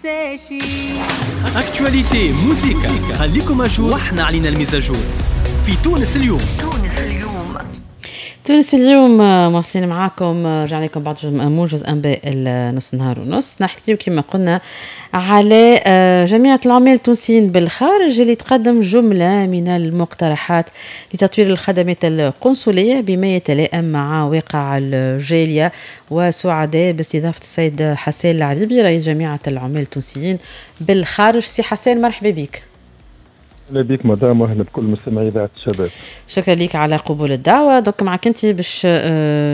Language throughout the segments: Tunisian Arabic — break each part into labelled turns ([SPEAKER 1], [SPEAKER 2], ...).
[SPEAKER 1] ننساشي.
[SPEAKER 2] actualité موزيكا، خليكم à jour واحنا علينا ال mise à jour في تونس اليوم.
[SPEAKER 3] تونس اليوم مواصلين معاكم، رجعنا لكم بعد موجز انباء نص نهار ونص. نحكيو كما قلنا على جمعية العمال التونسيين بالخارج اللي تقدم جملة من المقترحات لتطوير الخدمات القنصلية بما يتلائم مع واقع الجالية، وسعداء باستضافة السيد حسان العريبي رئيس جمعية العمال التونسيين بالخارج. سي حسان، مرحبا بك.
[SPEAKER 4] اهلا بك مدام، واهلا بكل مستمعي اذاعة الشباب.
[SPEAKER 3] شكرا لك على قبول الدعوة. donc معك انت باش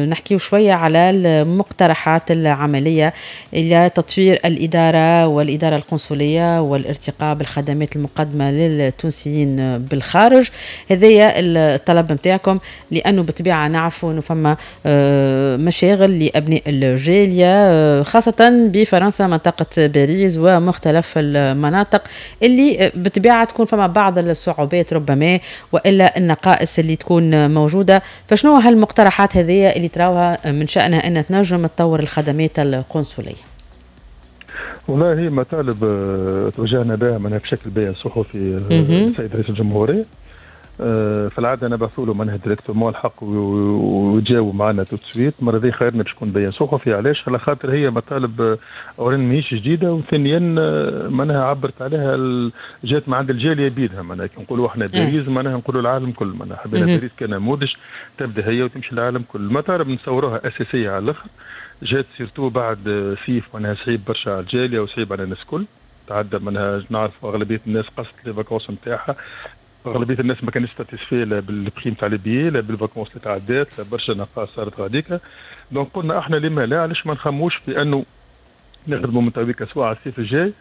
[SPEAKER 3] نحكيو شوية على المقترحات العملية الى تطوير الادارة والادارة القنصليه والارتقاء بالخدمات المقدمة للتونسيين بالخارج. هذايا الطلب نتاعكم، لانه بالطبيعة نعرفوا انه فما مشاغل لابناء الجالية خاصة بفرنسا، منطقة باريس ومختلف المناطق اللي بالطبيعة تكون فما بعض الصعوبات ربما والا النقائص اللي تكون موجوده. فشنو هالمقترحات هذه اللي تراوها من شانها ان تنجم تطور الخدمات القنصليه؟
[SPEAKER 4] والله هي مطالب توجهنا بها منها بشكل بيان صحفي للسيد رئيس الجمهوريه. في العادة نبعثوا له منها directement الحق ويجاوبوا معنا tout de suite. المرة ذي خيرنا باش يكون بيان صحفي. علاش؟ على خاطر هي مطالب اولا ماهيش جديده، وثانيا معناها عبرت عليها جات من عند الجالية بيدها. معناها كي نقولوا احنا باريس معناها نقولوا العالم كل، معناها حبينا باريس كنموذج تبدا هي وتمشي العالم كل. المطالب نصوروها اساسية على الاخر، جات surtout بعد صيف معناها صعيب برشا على الجالية وصعيب على الناس الكل. تعدى منها نعرف اغلبية الناس قصت les vacances نتاعها، اغلبية الناس ما كانتش satisfaits لا بال prix نتاع les billets لا بال vacances اللي تعدات، لا برشا نقاط صارت غاديكا. donc قلنا احنا لما لا، علاش ما نخموش في انه نخدموا من تويكا سواء على الصيف الجاي،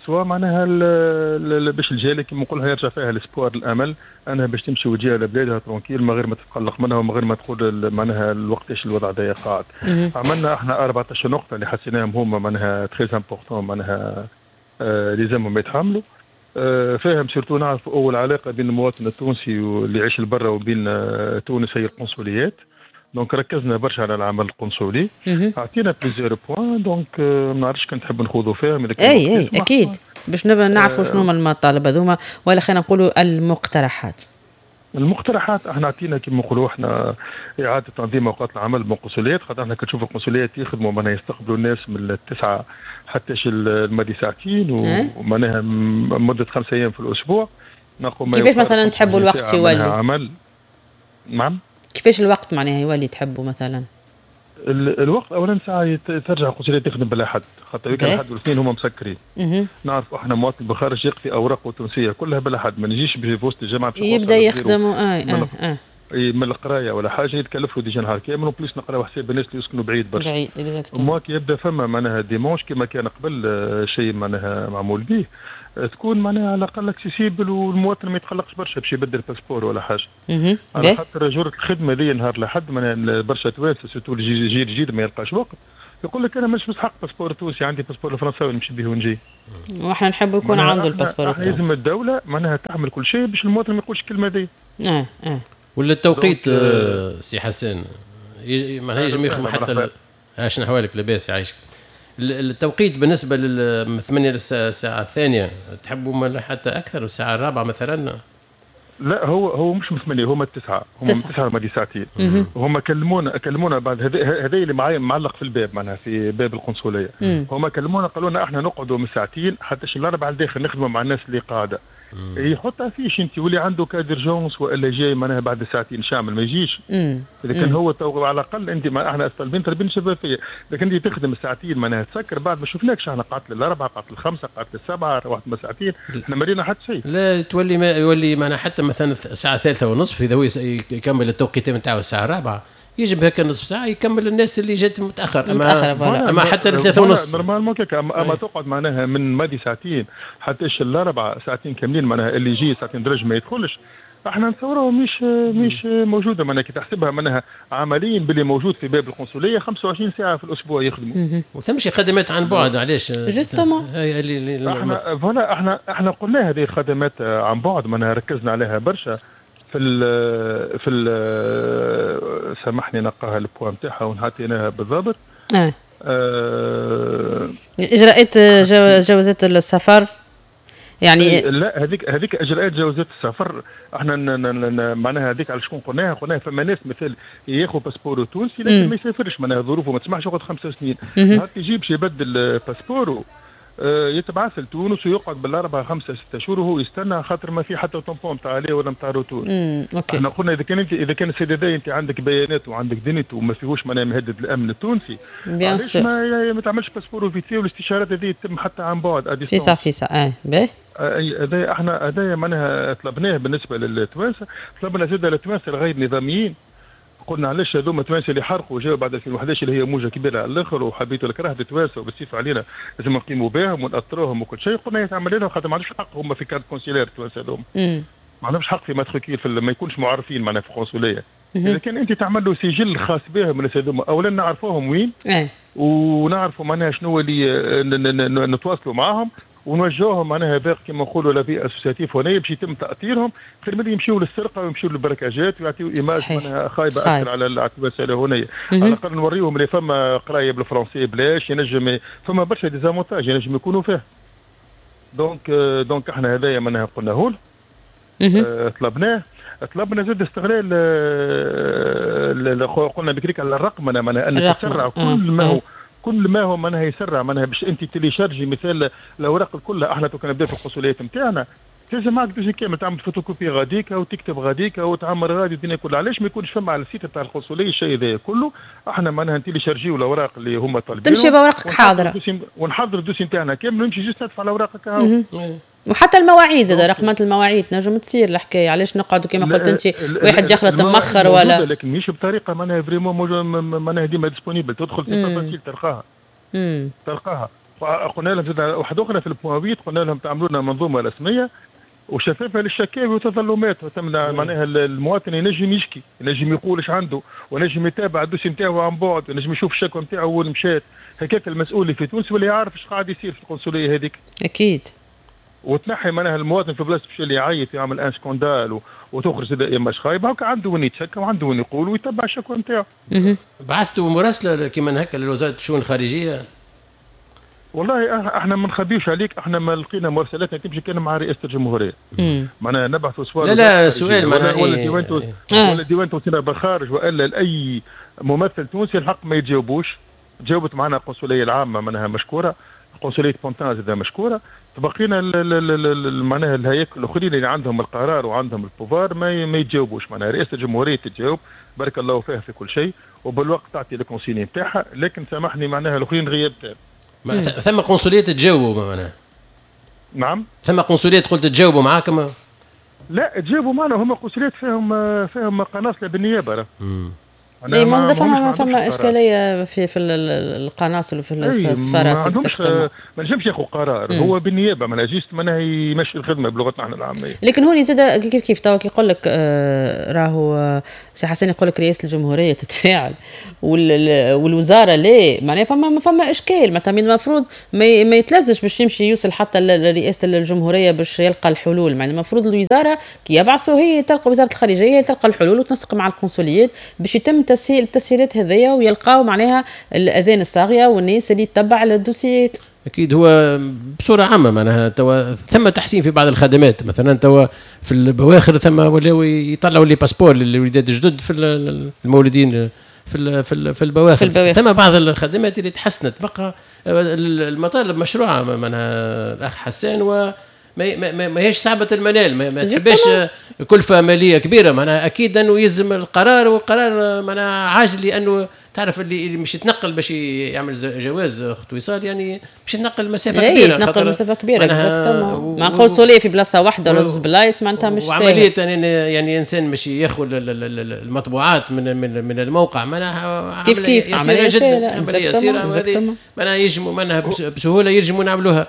[SPEAKER 4] سواء معناها باش الجالية كيما نقولها يرجع فيها l'espoir، الامل انها باش تمشي وتجي على بلادها tranquille، من غير ما تتقلق منها ومن غير ما تقول معناها الوقتاش الوضع ده قاعد. عملنا احنا 14 نقطة اللي حسيناهم هما معناها très importants، معناها لازمهم يتحملوا فاهم. surtout نعرف اول علاقة بين المواطن التونسي واللي يعيش لبرا وبين تونس هي القنصليات، donc ركزنا برشا على العمل القنصلي. اعطينا plusieurs points، donc ما نعرفش كان تحب نخوضوا فيهم.
[SPEAKER 3] اي اكيد، باش نبقى نعرفوا شنو هما المطالب هذوما، ولا خلينا نقولوا المقترحات.
[SPEAKER 4] المقترحات احنا عطينا كما نقولوا احنا اعاده تنظيم اوقات العمل بالقنصليات، خاطر احنا كنشوف القنصليات يخدموا معناها يستقبلوا الناس من 9 حتى الماضي ساعتين، ومعناها مده 5 ايام في الاسبوع.
[SPEAKER 3] نقوم كيفاش مثلا تحبوا الوقت يولي؟
[SPEAKER 4] عمل، نعم.
[SPEAKER 3] كيفاش الوقت معناها يولي تحبوا مثلا؟
[SPEAKER 4] الوقت اولا ساعة ترجع القنصليه تخدم بالاحد، خاطر الاحد والاثنين هما مسكرين. نعرف احنا مواطن بالخارج يقضي اوراقه التونسية كلها بالاحد، ما نجيش في وسط الجامعة.
[SPEAKER 3] يبدا يخدم اه اه اه
[SPEAKER 4] من القراية ولا حاجه، يتكلفوا déjà نهار كامل، و plus نقراو حساب الناس اللي يسكنوا بعيد برشا.
[SPEAKER 3] بعيد.
[SPEAKER 4] ما كي يبدا فما معناها dimanche كما كان قبل شيء معناها معمول به، تكون معناها على الاقل accessible والمواطن ما يتقلقش برشا باش يبدل passeport ولا حاجة. على خاطر جرة الخدمة دي نهار لحد معناها برشا توانسه، surtout الجيل الجديد، ما يلقاش وقت، يقول لك انا مش مستحق passeport تونسي، عندي passeport الفرنساوي نمشي به ونجي.
[SPEAKER 3] واحنا نحب يكون عنده ال passeport
[SPEAKER 4] التونسي. لازم الدولة معناها تعمل كل شيء باش المواطن ما يقولش الكلمة دي.
[SPEAKER 5] ولا التوقيت سي حسان، معناها يجم يخدم حتى شنو احوالك؟ لاباس؟ يعيشك. التوقيت بالنسبة لل 8 للساعة الثانيه، تحبوا حتى اكثر، الساعة الرابعة مثلا؟
[SPEAKER 4] لا، هو هو مش من 8، هما 9، هما 9 ماضي ساعتين. هما كلمونا بعد هذا اللي معايا معلق في الباب، معناها في باب القنصليه. هما كلمونا قالوا لنا احنا نقعدوا من ساعتين حتى الاربعة الداخل نخدموا مع الناس اللي قاعده. يحط affiche انت، واللي عنده cas d'urgence والا جاي معناها بعد ساعتين شامل ما يجيش. اذا كان هو تو على الاقل انت ما احنا طالبين شفافيه، لكن انت تخدم ساعتين معناها تسكر بعد، ما شفناكش احنا قعدت للاربعه، قعدت للخمسه، قعدت للسبعه، روحت ما ساعتين، احنا ما رينا حتى شيء.
[SPEAKER 5] لا، تولي ما يولي معناها حتى مثلا الساعة 3:30، اذا هو يكمل التوقيت نتاعو الساعة الرابعه، يجب هكا نصف ساعة يكمل الناس اللي جات متاخر. اما حتى 3:30.
[SPEAKER 4] normalement كيك اما تقعد معناها من ماضي ساعتين حتى الاربعه، ساعتين كاملين، معناها اللي يجي ساعتين درج ما يدخلش. احنا نتصوره مش موجوده، معناها كي تحسبها معناها عمليا باللي موجود في باب القنصليه 25 ساعة في الاسبوع يخدموا.
[SPEAKER 5] وثم شي خدمات عن بعد، علاش؟
[SPEAKER 3] justement.
[SPEAKER 4] احنا voilà، احنا قلنا هذه الخدمات عن بعد معناها ركزنا عليها برشا في ال سامحني نلقاها ال point نتاعها ونعطيناها بالضبط.
[SPEAKER 3] اجراءات جوازات السفر يعني.
[SPEAKER 4] لا، هذيك اجراءات جوازات السفر احنا معناها هذيك على شكون قلناها؟ قلناها فما ناس مثل ياخذ passeport تونسي لكن ما يسافرش، معناها ظروفه ما تسمحش يقعد 5 سنين، نهار يجي باش يبدل passeport و يتبعث لتونس ويقعد بالاربعة 5 6 شهور وهو يستنى، خاطر ما في حتى tampon تاع aller ولا نتاع retour. احنا قلنا اذا كان السيد هذا انت عندك بيانات وعندك دنيت وما فيهوش معناها مهدد الامن التونسي، علاش ما تعملش passeport vite fait، والاستشارات هذه تتم حتى عن بعد.
[SPEAKER 3] فيسع فيسع. باهي.
[SPEAKER 4] هذا احنا هذا معناها طلبناه بالنسبة للتوانسه. طلبنا زاد للتوانسه الغير نظاميين، قلنا علاش هذوما التوانسة اللي حرقوا جاوا بعد 2011 اللي هي موجه كبيرة على الاخر، وحبيتوا الكره التوانسة وبالسيف علينا لازم نقيموا بهم ونأطروهم وكل شيء. قلنا يتعمل لهم خاطر ما عندهمش حق هما في carte consulaire التوانسة هذوما، ما عندهمش حق في matricule، في ما يكونش معرفين معناها في القنصليه. اذا كان انت تعمل له سجل خاص بهم الناس هذوما، اولا نعرفوهم وين ونعرفوا معناها شنو اللي نتواصلوا معاهم ونوجهوهم معناها باقي كما نقولوا la vie associative هنا باش يتم تاثيرهم، خير من يمشيوا للسرقه ويمشيوا لل braquage ات ويعطيو image معناها خايبة اكثر على التوانسة هنا. على الاقل نوريهم اللي فما قرايه بالفرنسي بلاش، ينجم فما برشا des avantages ينجم يكونوا فيه. donc احنا هذايا معناها قلناه طلبناه. طلبنا زاد استغلال، قلنا بكريك على الرقمنه، معناها ان تسرع كل ما هو كل ما هو معناها يسرع، معناها باش انت télécharger مثال الاوراق الكل. احنا تو كان نبدا في القنصليات نتاعنا لازم معك dossier كامل، تعمل فوتوكوبي غاديك وتكتب غاديك وتعمر غادي الدنيا كلها. علاش ما يكونش فما على ال site تاع القنصليه الشيء هذا كله؟ احنا معناها ن télécharger و الاوراق اللي هما طالبينهم،
[SPEAKER 3] تمشي باوراقك حاضره
[SPEAKER 4] ونحضر ال dossier نتاعنا كامل ونمشي juste ندفع الاوراق هكا.
[SPEAKER 3] وحتى المواعيد زاد رقمات المواعيد نجم تصير الحكاية. علاش نقعدوا كما قلت انت واحد يخلط مخر ولا،
[SPEAKER 4] لكن مش بطريقة معناها vraiment معناها ديما disponible، تدخل في facile تلقاها. تلقاها. قلنا لهم زاد واحدة اخرى في ال point 8، قلنا لهم تعملوا لنا منظومة رسمية وشفافه للشكاوي والتظلمات، وتمنع معناها المواطن ينجم يشكي، ينجم يقول ايش عنده، ونجم يتابع ال dossier نتاعو عن بعد، ونجم يشوف الشكوى نتاعو وين مشات. هكاك المسؤول في تونس ولا يعرف ايش قاعد يصير في القنصليه هذيك.
[SPEAKER 3] اكيد.
[SPEAKER 4] وتنحي معناها المواطن في بلاصة باش اللي يعيط يعمل un scandale وتخرج image خايبة، هكا عنده وين يتشكى وعنده وين يقول ويتبع الشكوى نتاعو.
[SPEAKER 5] بعثتوا مراسله كيما هكا لوزارة الشؤون الخارجية؟
[SPEAKER 4] والله احنا ما نخبيوش عليك، احنا ما لقينا مراسلاتنا تمشي كان مع رئاسة الجمهورية. معناها نبعثوا سؤال،
[SPEAKER 5] لا لا سؤال معناها
[SPEAKER 4] ولا ديوان ولا ديوان تونسينا بالخارج والا لاي ممثل تونسي الحق ما يتجاوبوش. جاوبت معنا القنصليه العامة معناها مشكورة، قنصليه بونتان زاد مشكورة. تبقينا معناها الهياكل الاخرين اللي عندهم القرار وعندهم ال pouvoir ما يتجاوبوش. معناها رئاسة الجمهورية تتجاوب بارك الله فيها في كل شيء وبالوقت تعطي ال consignes نتاعها، لكن سامحني معناها الاخرين غياب تام.
[SPEAKER 5] ثم قنصليه تجاوبوا معناها؟
[SPEAKER 4] نعم،
[SPEAKER 5] ثم قنصليه قلت تجاوبوا معاكم؟
[SPEAKER 4] لا تجاوبوا معنا، هما قنصليات فيهم قناصله بالنيابة.
[SPEAKER 3] اي فما اشكالية في القناصل وفي السفارات.
[SPEAKER 4] ما نجمش ياخذ قرار هو بالنيابة، معناها juste معناها يمشي الخدمة بلغتنا احنا العامية.
[SPEAKER 3] لكن هوني زاد كيف توا كي يقول لك راهو سي حسن يقول لك رئاسة الجمهورية تتفاعل والوزارة لا، معناها فما اشكال. معناتها من المفروض ما يتلزش باش يمشي يوصل حتى لرئاسة الجمهورية باش يلقى الحلول. معناها المفروض الوزارة كي يبعثوا هي تلقى وزارة الخارجية تلقى الحلول وتنسق مع القنصليات باش يتم التسهيلات هذيا ويلقاو معناها الاذان الصاغيه والناس اللي تتبع الدوسيات.
[SPEAKER 5] اكيد هو بصورة عامة معناها توا ثم تحسين في بعض الخدمات، مثلا توا في البواخر ثم ولاو يطلعوا les passeports للوليدات الجدد في المولودين في البواخر. ثم بعض الخدمات اللي تحسنت. بقى المطالب مشروعه معناها الاخ حسان، و ما هيش صعبة المنال، ما تحبش كلفة مالية كبيرة. معناها أكيد أنه يلزم القرار، والقرار معناها عاجل، لأنه تعرف اللي مش يتنقل باش يعمل جواز اخت وصال، يعني مش يتنقل مسافة كبيرة.
[SPEAKER 3] يتنقل مسافة كبيرة exactement، مع قنصلية في بلاصة واحدة ولا زوج بلايص معناتها مش ساهل.
[SPEAKER 5] وعملية يعني إنسان مش ياخذ المطبوعات من الموقع، معناها
[SPEAKER 3] كيف
[SPEAKER 5] عملية جدا، عملية يسيرة، وهذه معناها يجموا معناها بسهولة يجموا نعملوها.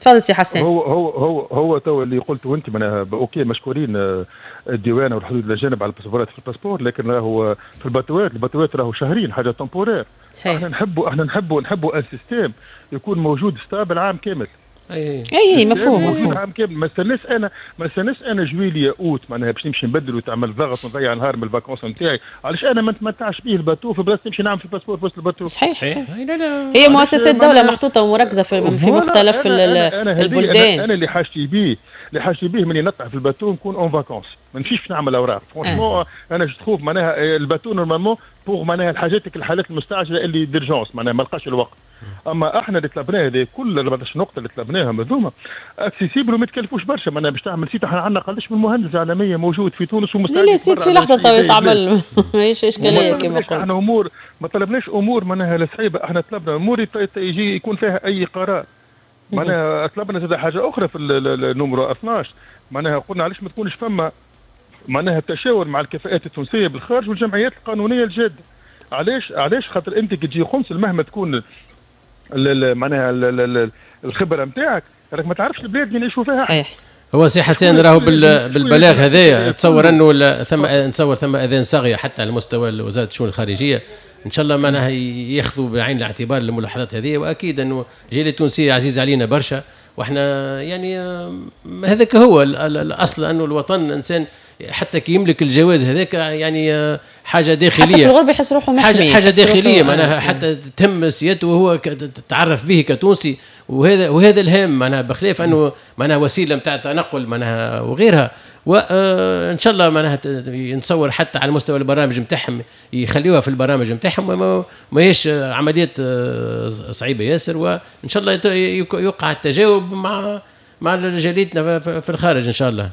[SPEAKER 3] تفضل سي حسن.
[SPEAKER 4] هو هو هو هو تو اللي قلته انت معناها OK، مشكورين الديوانه والحدود الاجانب على الباسبورات في ال passeport، لكن راهو في الباتوات، الباتوات راهو شهرين حاجة temporaire. احنا نحبوا un système يكون موجود stable عام كامل.
[SPEAKER 3] اي مفهوم.
[SPEAKER 4] العام كامل ما استناش انا، ما استناش انا جويلية اوت معناها باش نمشي نبدل وتعمل ضغط ونضيع نهار من ال vacances نتاعي. علاش انا ما نتمتعش به ال bateau في بلاصة نمشي نعمل في ال passeport في وسط ال bateau؟
[SPEAKER 3] صحيح. لا لا، هي مؤسسات دولة محطوطة ومركزه في مختلف البلدان.
[SPEAKER 4] انا اللي حاجتي به، اللي حاجتي به مني نطلع في ال bateau نكون en vacances، ما نمشيش باش نعمل اوراق. franchement انا je trouve معناها ال bateau normalement pour معناها الحاجات الحالات المستعجله اللي d'urgence معناها ما لقاش الوقت. اما احنا اللي طلبناه هذه كل 14 نقطة اللي طلبناهم هذوما accessibles وما تكلفوش برشا. معناها باش تعمل site، احنا عندنا قداش من مهندس عالمية موجود في تونس ومستعد.
[SPEAKER 3] لا site في لحظة تعمل، ماهيش اشكالية كما قلت.
[SPEAKER 4] احنا امور ما طلبناش امور معناها لا صعيبة، احنا طلبنا امور يجي يكون فيها اي قرار. معناها طلبنا زاد حاجة اخرى في ال numéro 12، معناها قلنا علاش ما تكونش فما معناها التشاور مع الكفاءات التونسية بالخارج والجمعيات القانونية الجادة. علاش؟ خاطر انت كي تجي قنصل مهما تكون معناها الخبرة نتاعك راك ما تعرفش البلاد اللي نعيشوا فيها.
[SPEAKER 3] صحيح.
[SPEAKER 5] هو سي حسين راهو بالبلاغ هذايا تصور انه ثم نتصور ثم اذان صاغيه حتى على مستوى وزارة الشؤون الخارجية، ان شاء الله معناها ياخذوا بعين الاعتبار الملاحظات هذه، واكيد انه الجالية التونسية عزيزه علينا برشا، واحنا يعني هذاك هو الاصل، انه الوطن انسان حتى كي يملك الجواز هذاك يعني حاجة داخلية،
[SPEAKER 3] حتى في الغربة يحس روحه محمي،
[SPEAKER 5] حاجة داخلية معناها حتى تهم سيادته وهو تتعرف به كتونسي، وهذا الهام معناها، بخلاف انه معناها وسيلة نتاع تنقل معناها وغيرها. وان شاء الله معناها نتصور حتى على مستوى البرامج نتاعهم يخليوها في البرامج نتاعهم، ماهيش عمليات صعيبة ياسر، وان شاء الله يوقع التجاوب مع جاليتنا في الخارج ان شاء الله.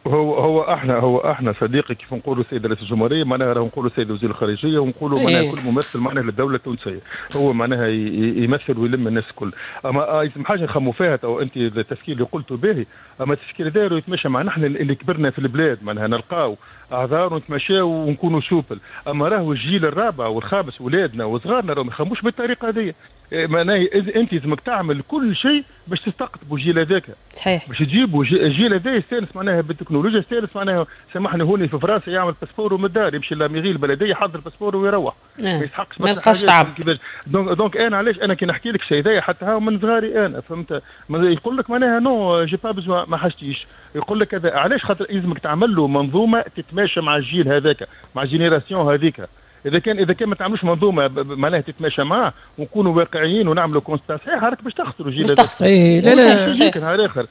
[SPEAKER 4] هو احنا صديقي كيف نقولوا السيد رئيس الجمهورية معناها راهو نقولوا السيد وزير الخارجية ونقولوا معناها كل ممثل معناها للدولة التونسية هو معناها يمثل ويلم الناس الكل. اما لازم حاجة نخموا فيها تو انت التفكير اللي قلته باهي، اما التفكير هذا يتمشى مع نحن اللي كبرنا في البلاد معناها نلقاو اعذار ونتمشاو ونكونوا souples. اما راهو الجيل الرابع والخامس ولادنا وصغارنا راهو ما يخموش بالطريقة هذه. معناها انت لازمك تعمل كل شيء باش تستقطبوا الجيل هذاك.
[SPEAKER 3] صحيح.
[SPEAKER 4] باش تجيبوا الجيل هذا يستانس معناها بالتكنولوجيا، يستانس معناها سامحني هوني في فرنسا يعمل passeport من الدار، يمشي la mairie البلدية يحضر passeport ويروح.
[SPEAKER 3] ما يستحقش، ما يلقاش تعب.
[SPEAKER 4] donc انا علاش انا كي نحكي لك شيء هذايا حتى هاو من صغاري انا فهمت، يقول لك معناها non j'ai pas besoin ما حاجتيش، يقول لك هذا علاش؟ خاطر لازمك تعمل له منظومة تتماشى مع الجيل هذاك، مع ال génération هذيك. اذا كان ما تعملوش منظومة معناها تتماشى معاه ونكونوا واقعيين ونعملوا constat صحيح راك باش تخسروا الجيل
[SPEAKER 3] باش تخسر.
[SPEAKER 5] اي لا لا
[SPEAKER 4] يجيك نهار اخر.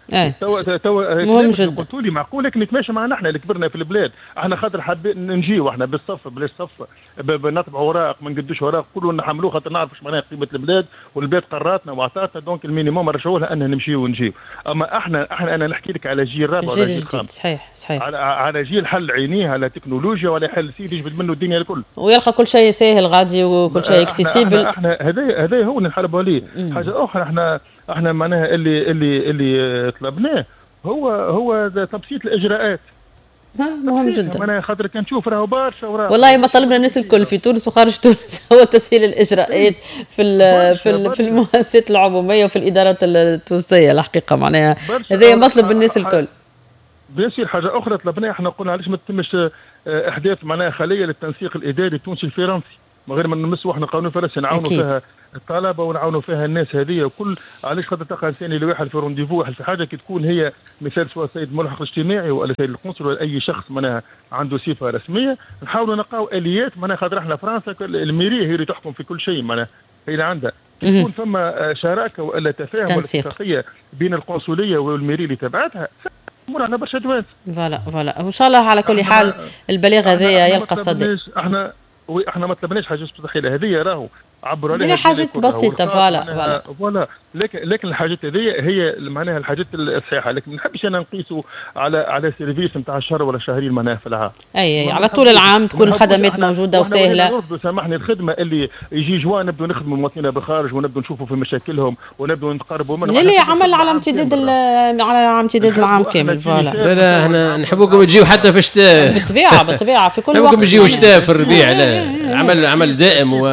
[SPEAKER 4] توا
[SPEAKER 3] مهم جدا
[SPEAKER 4] قلتوا لي معقول، لكن نتماشى معنا احنا اللي كبرنا في البلاد، احنا خاطر حابين نجيو احنا بالصف بلاش صف نطبعوا اوراق ما نقدوش اوراق كلنا نحملوه خاطر نعرف اش معناها قيمة البلاد، والبلاد قراتنا واعطاتنا donc ال minimum رجعوا لها ان نمشيو ونجيو. اما احنا انا نحكي لك على جيل رابع ولا جيل خامس.
[SPEAKER 3] صحيح صحيح.
[SPEAKER 4] على جيل حل عينيه على تكنولوجيا ولا حل سيدي يجبد منه الدنيا الكل
[SPEAKER 3] ويلقى كل شيء ساهل غادي وكل شيء accessible.
[SPEAKER 4] احنا هذا هو اللي نحاربوا عليه. حاجة اخرى احنا معناها اللي طلبناه هو تبسيط الاجراءات.
[SPEAKER 3] مهم جدا.
[SPEAKER 4] معناها خاطر كان تشوف راهو برشا وراهو
[SPEAKER 3] والله ما طلبنا الناس الكل في تونس وخارج تونس هو تسهيل الاجراءات في المؤسسات العمومية وفي الادارات التونسية الحقيقة معناها هذا مطلب الناس الكل.
[SPEAKER 4] bien sûr حاجة اخرى طلبناها احنا قلنا علاش ما تتمش احداث معناها خليه للتنسيق الاداري التونسي الفرنسي من غير ما نمسوا احنا القانون الفرنسي، نعاونوا فيها الطلبة ونعاونوا فيها الناس هذه وكل. علاش خاطر تلقى انسان اللي واحد في rendez-vous واحد في حاجة كي تكون هي مثال سواء السيد الملحق الاجتماعي ولا السيد القنصل ولا اي شخص معناها عنده صفة رسمية، نحاولوا نلقاو اليات معناها خاطر احنا فرنسا ال mairie هي اللي تحكم في كل شيء معناها هي اللي عندها يكون فما شراكة والا تفاهم ولا اتفاقية بين القنصليه وال mairie اللي تبعتها امور برشا توانسة.
[SPEAKER 3] voilà voilà وان شاء الله على كل حال البلاغ هذايا يلقى صدى.
[SPEAKER 4] احنا ما طلبناش حاجة مستحيلة، هذه راهو عبروا عليها
[SPEAKER 3] حاجات بسيطة. voilà voilà
[SPEAKER 4] voilà لكن الحاجات هذه هي معناها الحاجات الصحيحة، لكن ما نحبش انا نقيسوا على service نتاع شهر ولا شهرين معناها في العام.
[SPEAKER 3] اي على طول العام تكون الخدمات موجودة وسهلة.
[SPEAKER 4] سامحني الخدمة اللي يجي جوان نبدو نخدموا المواطنين بالخارج ونبدو نشوفوا في مشاكلهم ونبدو نتقربوا منهم.
[SPEAKER 3] لا عمل على امتداد على امتداد العام كامل. voilà
[SPEAKER 5] لا لا احنا نحبوكم تجيو حتى في الشتاء.
[SPEAKER 3] بالطبيعة بالطبيعة في كل وقت
[SPEAKER 5] نحبوكم تجيو شتاء في الربيع. لا عمل دائم و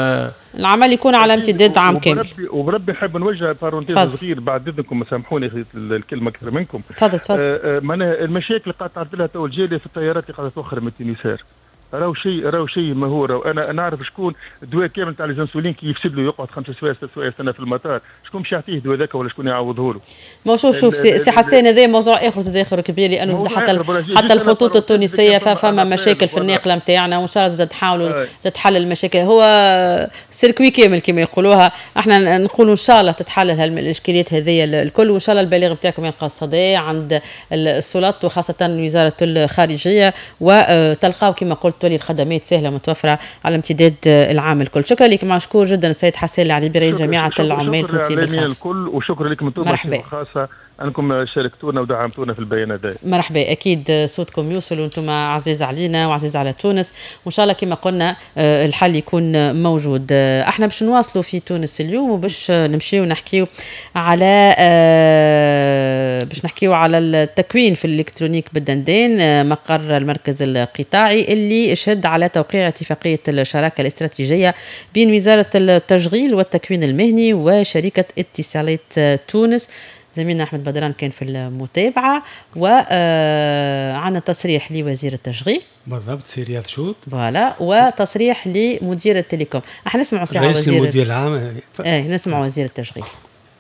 [SPEAKER 3] العمل يكون على امتداد عام كامل.
[SPEAKER 4] وبربي نحب نوجه parenthèse صغير بعد اذنكم، سامحوني الكلمة اكثر منكم.
[SPEAKER 3] تفضل تفضل.
[SPEAKER 4] معناها المشاكل اللي قاعدة تعرض لها تو الجالية في الطيارات اللي قاعدة توخر من Tunisair. راهو شيء ما هو راهو انا نعرف شكون الدواء كامل تاع les insulines كي يفسد له يقعد 5 سوايع 6 سوايع سنة في المطار، شكون باش يعطيه الدواء ذاك ولا شكون يعوضه له؟
[SPEAKER 3] ما شوف سي حسين، هذا موضوع اخر زاد اخر كبير، لانه حتى الخطوط التونسية فما مشاكل في الناقله نتاعنا، وان شاء الله زاد تحاولوا تتحل المشاكل. هو circuit كامل كما يقولوها، احنا نقولوا ان شاء الله تتحل الاشكاليات هذه الكل، وان شاء الله البلاغ نتاعكم يلقى صدى عند السلطات وخاصة وزارة الخارجية، وتلقاو كما قلت تولي الخدمات سهلة متوفرة على امتداد العام الكل. شكرا لك، مشكور جدا السيد حسين العريبي رئيس جامعه العمال التونسية بالخارج.
[SPEAKER 4] الكل وشكرا لكم انتم خاصة انكم شاركتونا ودعمتونا في البيان هذا.
[SPEAKER 3] مرحبا، اكيد صوتكم يوصل وانتم عزيز علينا وعزيز على تونس، وان شاء الله كما قلنا الحل يكون موجود. احنا باش نواصلوا في تونس اليوم، وباش نمشيو نحكيو على باش نحكيو على التكوين في الالكترونيك بالدندان، مقر المركز القطاعي اللي شهد على توقيع اتفاقية الشراكة الاستراتيجية بين وزارة التشغيل والتكوين المهني وشركه اتصالات تونس. زميلنا أحمد بدران كان في المتابعة، وعندنا تصريح لوزير التشغيل
[SPEAKER 1] بالضبط سي رياض شوط،
[SPEAKER 3] voilà، وتصريح لمدير ال télécom. احنا نسمعوا ساعة وزير
[SPEAKER 1] المدير العام،
[SPEAKER 3] نسمعوا وزير التشغيل.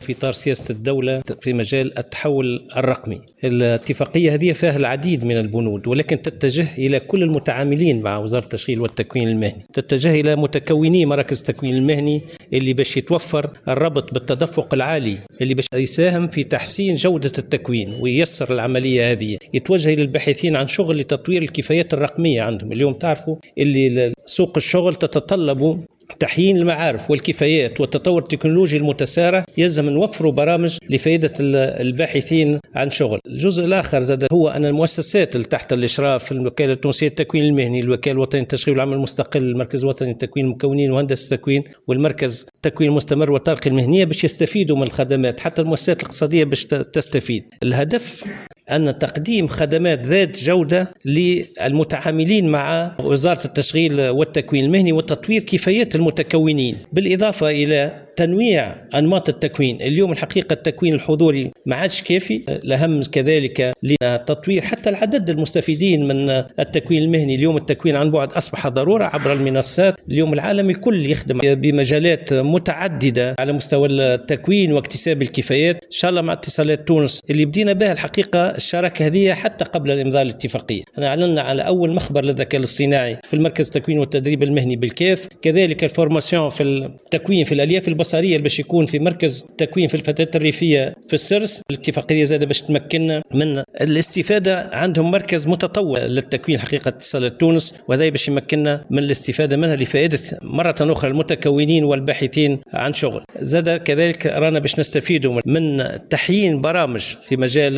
[SPEAKER 6] في إطار سياسة الدولة في مجال التحول الرقمي، الاتفاقية هذه فيها العديد من البنود، ولكن تتجه إلى كل المتعاملين مع وزارة التشغيل والتكوين المهني، تتجه إلى متكوني مراكز التكوين المهني اللي باش يتوفر الربط بالتدفق العالي اللي باش يساهم في تحسين جودة التكوين وييسر العملية هذه، يتوجه إلى الباحثين عن شغل لتطوير الكفايات الرقمية عندهم. اليوم تعرفوا اللي سوق الشغل تتطلب تحيين المعارف والكفايات والتطور التكنولوجي المتسارع، يلزم نوفروا برامج لفائدة الباحثين عن شغل. الجزء الآخر زاد هو أن المؤسسات اللي تحت الإشراف، الوكالة التونسية للتكوين المهني، الوكالة الوطنية للتشغيل والعمل المستقل، المركز الوطني للتكوين المكونين وهندسة التكوين، والمركز التكوين المستمر والترقية المهنية، باش يستفيدوا من الخدمات، حتى المؤسسات الاقتصادية باش تستفيد. الهدف أن تقديم خدمات ذات جودة للمتعاملين مع وزارة التشغيل والتكوين المهني وتطوير كفايات المتكونين، بالإضافة إلى تنويع أنماط التكوين. اليوم الحقيقة التكوين الحضوري ما عادش كافي، الأهم كذلك لتطوير حتى العدد المستفيدين من التكوين المهني. اليوم التكوين عن بعد أصبح ضرورة عبر المنصات. اليوم العالم الكل يخدم بمجالات متعددة على مستوى التكوين واكتساب الكفايات. إن شاء الله مع اتصالات تونس اللي بدينا بها الحقيقة الشراكة هذه حتى قبل الإمضاء الاتفاقية، أنا أعلنا على أول مخبر للذكاء الاصطناعي في المركز التكوين والتدريب المهني بالكاف، كذلك ال formation في التكوين في الألياف البصرية باش يكون في مركز تكوين في الفتاة الريفية في السرس. الاتفاقية زادة باش تمكننا من الاستفادة، عندهم مركز متطور للتكوين حقيقة اتصالات تونس، وهذا باش يمكننا من الاستفادة منها لفائدة مرة أخرى المتكونين والباحثين عن شغل. زاد كذلك رانا باش نستفيدوا من تحيين برامج في مجال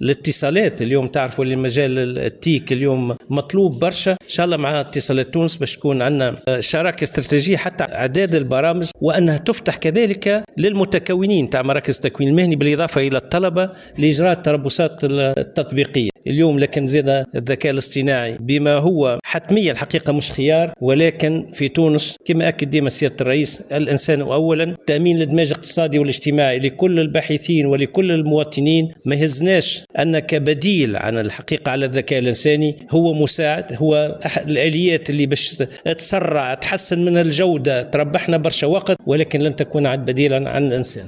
[SPEAKER 6] الاتصالات. اليوم تعرفوا اللي مجال ال TIC اليوم مطلوب برشا. إن شاء الله مع اتصالات تونس باش تكون عندنا شراكة استراتيجية حتى اعداد البرامج، وأنها تفتح كذلك للمتكونين تاع مراكز التكوين المهني بالإضافة إلى الطلبة لإجراء التربصات التطبيقية. اليوم لكن زاد الذكاء الاصطناعي بما هو حتمية الحقيقة مش خيار، ولكن في تونس كما أكد ديما سيادة الرئيس، الإنسان أولا، تأمين الإدماج الاقتصادي والاجتماعي لكل الباحثين ولكل المواطنين. ما يهزناش أن كبديل عن الحقيقة على الذكاء الإنساني، هو مساعد، هو أحد الآليات اللي باش تسرع تحسن من الجودة، تربحنا برشا وقت، ولكن لن تكون عاد بديلا عن الإنسان.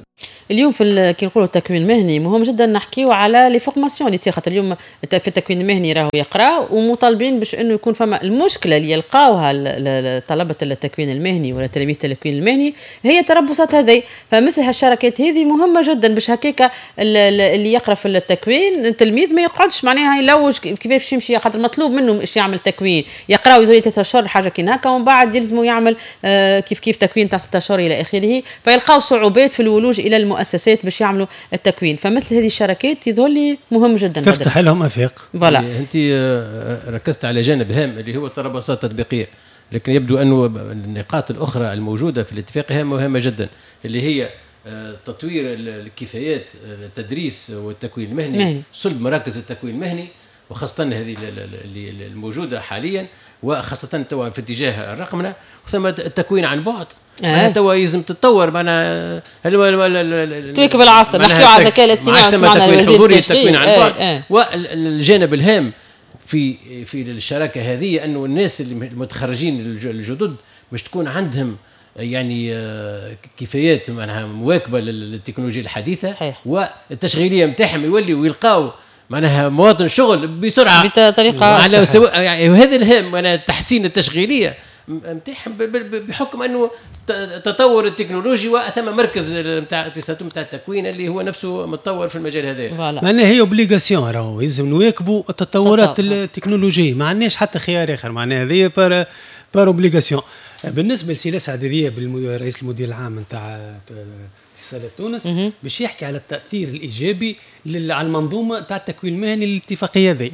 [SPEAKER 3] اليوم في كي نقولوا التكوين المهني مهم جدا نحكيو على les formations اللي تصير، خاطر اليوم في التكوين المهني راهو يقرا ومطالبين باش انه يكون فما المشكلة اللي يلقاوها طلبه التكوين المهني ولا تلاميذ التكوين المهني هي التربصات هذه، فمثل هالشراكات هذه مهمة جدا باش هكاك اللي يقرا في التكوين التلميذ ما يقعدش معناها يلوج كيفاش يمشي، خاطر مطلوب منه باش يعمل تكوين، يقرا يزوري 3 اشهر حاجة كي هكا، ومن بعد يلزموا يعمل كيف كيف تكوين تاع 6 اشهر الى اخره، فيلقاو صعوبات في الولوج الى المؤسسات باش يعملوا التكوين. فمثل هذه الشراكات يظهر لي مهم جدا،
[SPEAKER 1] تفتح لهم افاق.
[SPEAKER 3] voilà،
[SPEAKER 5] انت ركزت على جانب هام اللي هو التربصات التطبيقية، لكن يبدو انه النقاط الاخرى الموجودة في الاتفاق هي مهمة جدا، اللي هي تطوير الكفايات التدريس والتكوين المهني، صلب مراكز التكوين المهني وخاصة هذه اللي الموجودة حاليا، وخاصة توا في اتجاه الرقمنه، وثم التكوين عن بعد. معناها توا لازم تتطور، معناها
[SPEAKER 3] تواكب العصر. نحكيو على الذكاء الاصطناعي،
[SPEAKER 5] التكوين الحضوري، التكوين عن بعد، والجانب الهام في الشراكة هذه انه الناس اللي المتخرجين الجدد باش تكون عندهم يعني كفايات معناها مواكبة للتكنولوجيا الحديثة.
[SPEAKER 3] صحيح.
[SPEAKER 5] والتشغيليه نتاعهم يولي ويلقاو معناها مواطن شغل بسرعة
[SPEAKER 3] بطريقة
[SPEAKER 5] على سواء يعني، وهذا الهام معناها تحسين التشغيلية نتاعهم بحكم انه التطور التكنولوجي وثم مركز نتاع اتصالات نتاع التكوين اللي هو نفسه متطور في المجال هذا.
[SPEAKER 1] معناها هي obligation، راهو لازم نواكبوا التطورات التكنولوجية، ما عندناش حتى خيار اخر، معناها هذه par obligation. بالنسبة لسي لسعد ذياب رئيس المدير العام نتاع اتصالات تونس باش يحكي على التاثير الايجابي على المنظومة تاع التكوين المهني للاتفاقيه هذه.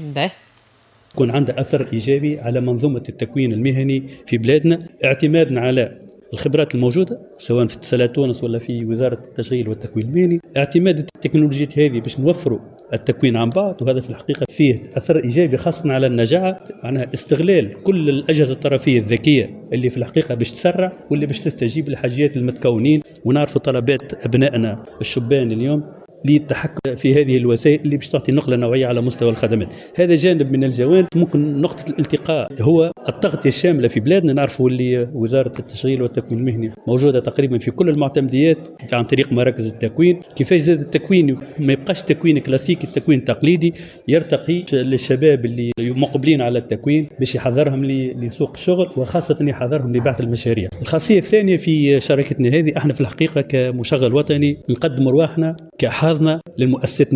[SPEAKER 7] يكون عندها اثر ايجابي على منظومة التكوين المهني في بلادنا، اعتمادنا على الخبرات الموجودة سواء في اتصالات تونس ولا في وزارة التشغيل والتكوين المهني، اعتماد التكنولوجيات هذه باش نوفروا التكوين عن بعد، وهذا في الحقيقة فيه اثر ايجابي خاصة على النجاعه، معناها استغلال كل الاجهزة الطرفيه الذكية اللي في الحقيقة باش تسرع واللي باش تستجيب لحاجيات المتكونين، ونعرفوا طلبات ابنائنا الشبان اليوم للتحكم في هذه الوسائل اللي باش تعطي نقله نوعية على مستوى الخدمات. هذا جانب من الجوانب. ممكن نقطة الالتقاء هو التغطية الشاملة في بلادنا. نعرفوا اللي وزارة التشغيل والتكوين المهني موجودة تقريبا في كل المعتمديات عن طريق مراكز التكوين. كيفاش زاد التكوين ما يبقاش تكوين كلاسيكي، التكوين التقليدي يرتقي للشباب اللي مقبلين على التكوين باش يحضرهم لسوق الشغل، وخاصة يحضرهم لبعث المشاريع. الخاصية الثانية في شراكتنا هذه، احنا في الحقيقة كمشغل وطني نقدم رواحنا كحاضنة للمؤسسات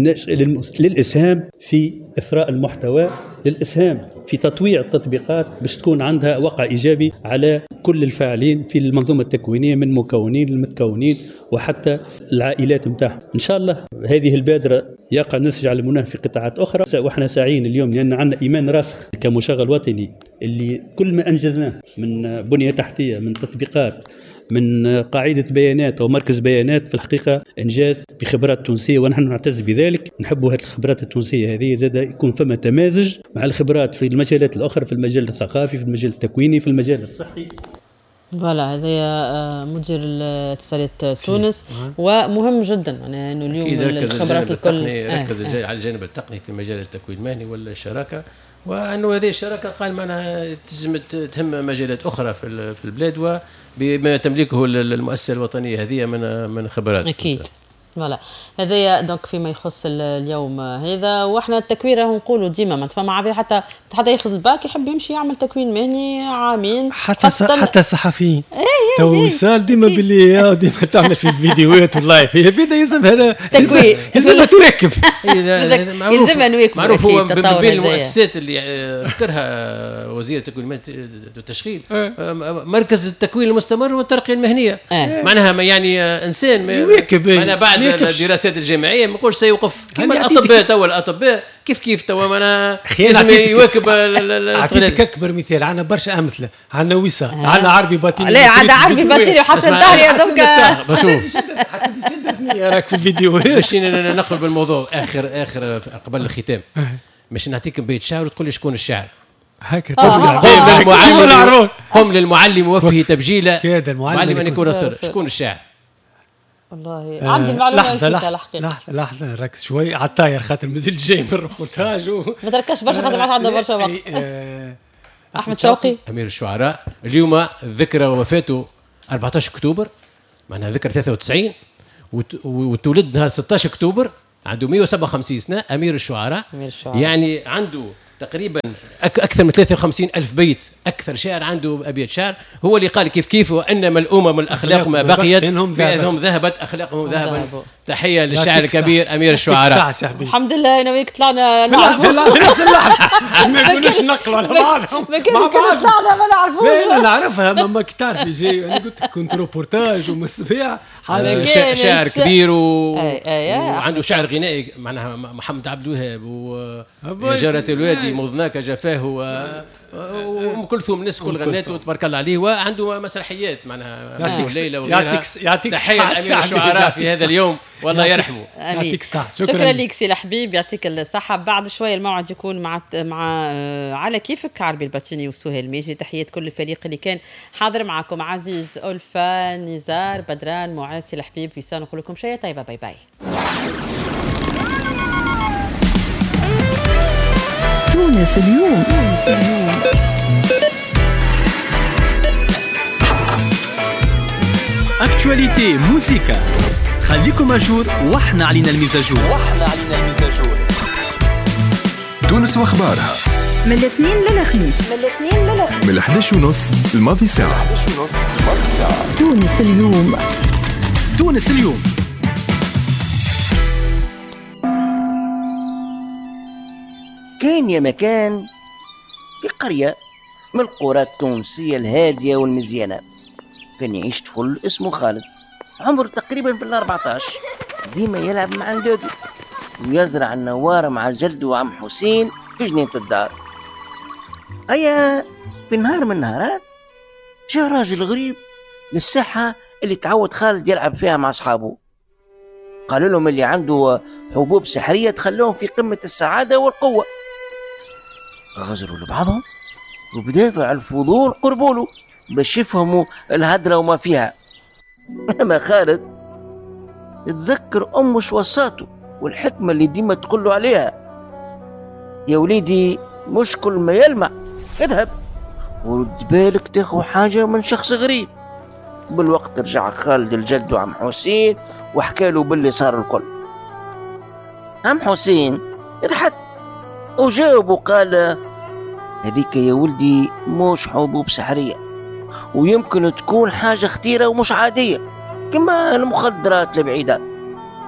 [SPEAKER 7] للإسهام في إثراء المحتوى، للإسهام في تطويع التطبيقات باش تكون عندها وقع إيجابي على كل الفاعلين في المنظومة التكوينية من مكونين للمتكونين وحتى العائلات متاعهم. إن شاء الله هذه البادرة يقع نسج على المناه في قطاعات أخرى، وإحنا ساعين اليوم لأن عندنا إيمان راسخ كمشغل وطني اللي كل ما أنجزناه من بنية تحتية، من تطبيقات، من قاعدة بيانات أو مركز بيانات، في الحقيقة إنجاز بخبرات تونسية ونحن نعتز بذلك. نحب هذه الخبرات التونسية هذه زاد يكون فما تمازج مع الخبرات في المجالات الأخرى، في المجال الثقافي، في المجال التكويني، في المجال الصحي.
[SPEAKER 3] voilà هذا مدير اتصالات تونس، ومهم جدا يعني انه اليوم الخبرات الكل
[SPEAKER 5] ركز على الجانب التقني في مجال التكوين المهني ولا الشراكة، وانه هذه الشراكة قال معناها تجم تهم مجالات اخرى في البلاد وبما تملكه المؤسسة الوطنية هذه من خبرات.
[SPEAKER 3] اكيد voilà هذايا donc فيما يخص اليوم هذا. واحنا التكوين راهو نقولوا ديما ما فما عباد حتى ياخذ الباك يحب يمشي يعمل تكوين مهني عامين،
[SPEAKER 1] حتى الصحفيين تو وصال ديما باللي ديما تعمل في الفيديوهات وال live هي بدا يلزم هذا
[SPEAKER 3] تكوين،
[SPEAKER 1] يلزم تواكب،
[SPEAKER 3] يلزم نواكب.
[SPEAKER 5] معروف هو بين المؤسسات اللي ذكرها وزير التكوين والتشغيل مركز التكوين المستمر والترقيه المهنية. معناها يعني انسان معناها بعد الدراسات الجامعية ما نقولش سيوقف كما الاطباء توا، الاطباء كيف كيف توا معناها لازم يواكب.
[SPEAKER 1] اعطيك اكبر مثال، عندنا برشا امثلة، عندنا وسام، عندنا عربي باتيني،
[SPEAKER 3] لا عندنا عربي باتيني وحسن طاهر يا دوك
[SPEAKER 5] بشوف
[SPEAKER 1] راك في الفيديو.
[SPEAKER 5] باش نقلب بالموضوع اخر قبل الختام، باش نعطيك بيت شعر وتقول لي شكون الشاعر.
[SPEAKER 1] هكا
[SPEAKER 5] قم للمعلم وفه تبجيله المعلم ان يكون رسول. شكون الشاعر؟
[SPEAKER 3] والله عندي المعلومة نسيتها الحقيقة.
[SPEAKER 1] لحظة ركز شوي على الطاير خاطر مازال جاي من الريبورتاج
[SPEAKER 3] ما تركزش برشا خاطر ما عندنا برشا وقت. احمد شوقي
[SPEAKER 5] امير الشعراء، اليوم ذكرى وفاته 14 اكتوبر، معناها ذكرى 93، وتولد نهار 16 اكتوبر، عنده 157 سنة، امير الشعراء. يعني عنده تقريبا اكثر من 53 ألف بيت، اكثر شاعر عنده ابيات شعر. هو اللي قال كيف كيف وانما الامم الاخلاق ما بقيت فانهم ذهبت اخلاقهم ذهبا. تحية للشاعر الكبير امير الشعراء.
[SPEAKER 3] الحمد لله انا وياك طلعنا
[SPEAKER 1] نعرفوا في نفس اللحظة، ما يقولوش نقلوا على بعضهم
[SPEAKER 3] ما كان طلعنا ما نعرفوش.
[SPEAKER 1] لا انا نعرفها ما تعرفي جاي، انا قلت لك كنت روبورتاج ومسبيع.
[SPEAKER 5] شاعر كبير وعنده شعر غنائي معناها محمد عبد الوهاب وجارة الوادي مضناك جفاه وام كلثوم، الناس كل غناته تبارك الله عليه، وعنده مسرحيات معناها ليلى وغيرها.
[SPEAKER 1] يعطيك
[SPEAKER 5] تحية لامير الشعراء في هذا اليوم والله يرحمه.
[SPEAKER 1] يعطيك الصحة.
[SPEAKER 3] شكرا لك سي الحبيب، يعطيك الصحة. بعد شوية الموعد يكون مع على كيفك عربي الباتيني وسهيل ميجي. تحيات كل الفريق اللي كان حاضر معكم، عزيز، ألفا، نزار، بدران، معاذ، سي الحبيب، وسام. نقول لكم شيء طيبة، bye bye.
[SPEAKER 8] تونس اليوم.
[SPEAKER 2] actualité موزيكا، خليكم à jour واحنا علينا ال mise à jour.
[SPEAKER 9] تونس واخبارها
[SPEAKER 8] من الاثنين للخميس،
[SPEAKER 9] من 11:30 الماضي ساعة.
[SPEAKER 8] تونس اليوم.
[SPEAKER 2] تونس اليوم.
[SPEAKER 10] كان يا مكان في قرية من القرى التونسية الهادية والمزيانة، كان يعيش طفل اسمه خالد، عمره تقريبا في 14، ديما يلعب مع ندادو ويزرع النوارة مع الجد وعم حسين في جنينة الدار. أيا في نهار من النهارات جاء راجل غريب للساحة اللي تعود خالد يلعب فيها مع أصحابه. قالوا لهم اللي عنده حبوب سحرية تخلوهم في قمة السعادة والقوة. غزروا لبعضهم وبدافع الفضول قربوا له باش يفهموا الهدرة وما فيها. أما خالد تذكر أمه شو وصاته والحكمة اللي ديما تقول له عليها: يا وليدي مش كل ما يلمع اذهب، ورد بالك تاخو حاجة من شخص غريب. بالوقت رجع خالد الجد وعم حسين وحكى له باللي صار الكل. عم حسين ضحك وجاوب وقال: هذيك يا ولدي مش حبوب سحرية، ويمكن تكون حاجة خطيرة ومش عادية كما المخدرات البعيدة.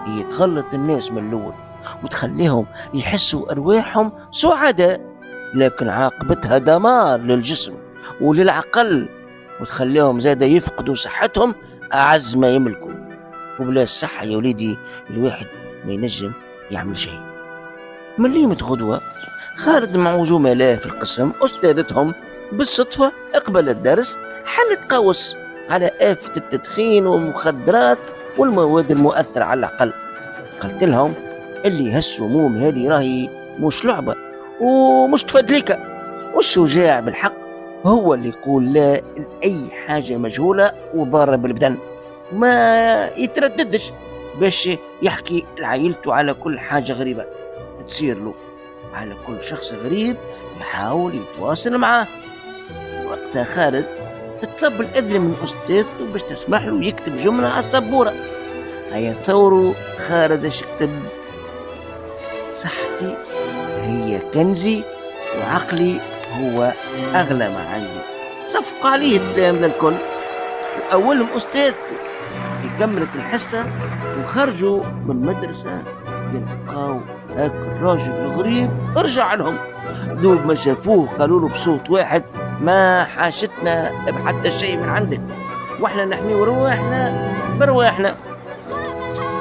[SPEAKER 10] هي تغلط الناس من الأول وتخليهم يحسوا أرواحهم سعداء، لكن عاقبتها دمار للجسم وللعقل، وتخليهم زادة يفقدوا صحتهم أعز ما يملكوا. وبلا الصحة يا وليدي الواحد ما ينجم يعمل شيء. من ليمة غدوة خالد مع زملائه في القسم أستاذتهم بالصدفة قبل الدرس حلت قوس على آفة التدخين والمخدرات والمواد المؤثرة على العقل. قلت لهم اللي هالسموم هذه راهي مش لعبة ومش تفدليكة، والشجاع بالحق هو اللي يقول لا لأي حاجة مجهولة وضارة بالبدن، ما يترددش باش يحكي لعائلته على كل حاجة غريبة تصير له، على كل شخص غريب يحاول يتواصل معاه. وقتها خالد طلب الإذن من أستاذته باش تسمح له يكتب جملة على السبورة. هيا تصوروا خالد اش كتب: صحتي هي كنزي وعقلي هو أغلى ما عندي. صفق عليه التلامذة الكل وأولهم أستاذته. كملت الحصة وخرجوا من المدرسة يلقاو هاك الراجل الغريب رجع لهم. دوب ما شافوه قالوا له بصوت واحد: ما حاشتنا بحتى شيء من عندك، واحنا نحميو رواحنا برواحنا.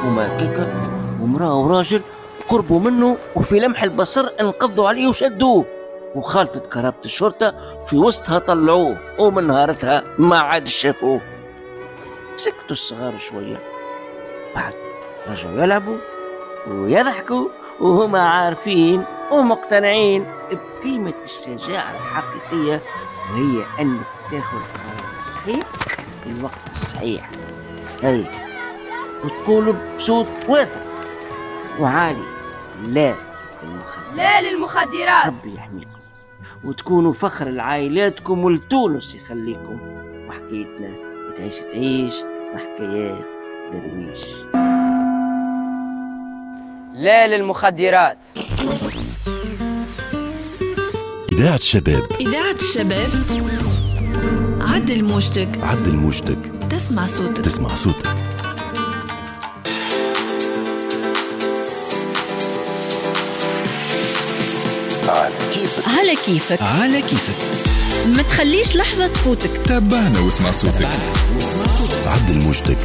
[SPEAKER 10] وما كيكا ومرأة وراجل قربوا منه وفي لمح البصر انقضوا عليه وشدوه، وخالطت كرابة الشرطة في وسطها طلعوه، ومن نهارتها ما عاد شافوه. سكتوا الصغار شوية، بعد رجعوا يلعبوا ويضحكوا وهما عارفين ومقتنعين بقيمة الشجاعة الحقيقية، وهي أنك تاخذ القرار الصحيح في الوقت الصحيح، هي وتقول بصوت واثق وعالي: لا للمخدرات،
[SPEAKER 11] لا للمخدرات،
[SPEAKER 10] ربي يحميكم وتكونوا فخر لعائلاتكم ولتونس يخليكم. وحكايتنا تعيش تعيش وحكايات درويش.
[SPEAKER 11] لا للمخدرات.
[SPEAKER 9] إذاعة الشباب،
[SPEAKER 8] إذاعة الشباب. عدل موجتك،
[SPEAKER 9] عدل موجتك،
[SPEAKER 8] تسمع صوتك،
[SPEAKER 9] تسمع صوتك. على كيفك،
[SPEAKER 8] على كيفك،
[SPEAKER 2] على كيفك،
[SPEAKER 8] ما تخليش لحظة تفوتك.
[SPEAKER 9] تابعنا واسمع صوتك، عدل موجتك،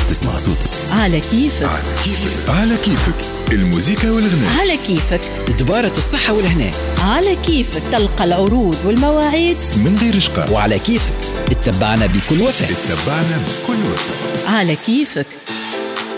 [SPEAKER 9] تسمع صوتك.
[SPEAKER 8] على كيفك،
[SPEAKER 9] على كيفك، على كيفك، الموسيقى والغناء.
[SPEAKER 8] على كيفك،
[SPEAKER 2] دبارة الصحة والهناء.
[SPEAKER 8] على كيفك، تلقى العروض والمواعيد
[SPEAKER 9] من غير شقاء.
[SPEAKER 2] وعلى كيفك تتبعنا بكل وفاء،
[SPEAKER 9] تتبعنا بكل وفاء.
[SPEAKER 8] على كيفك.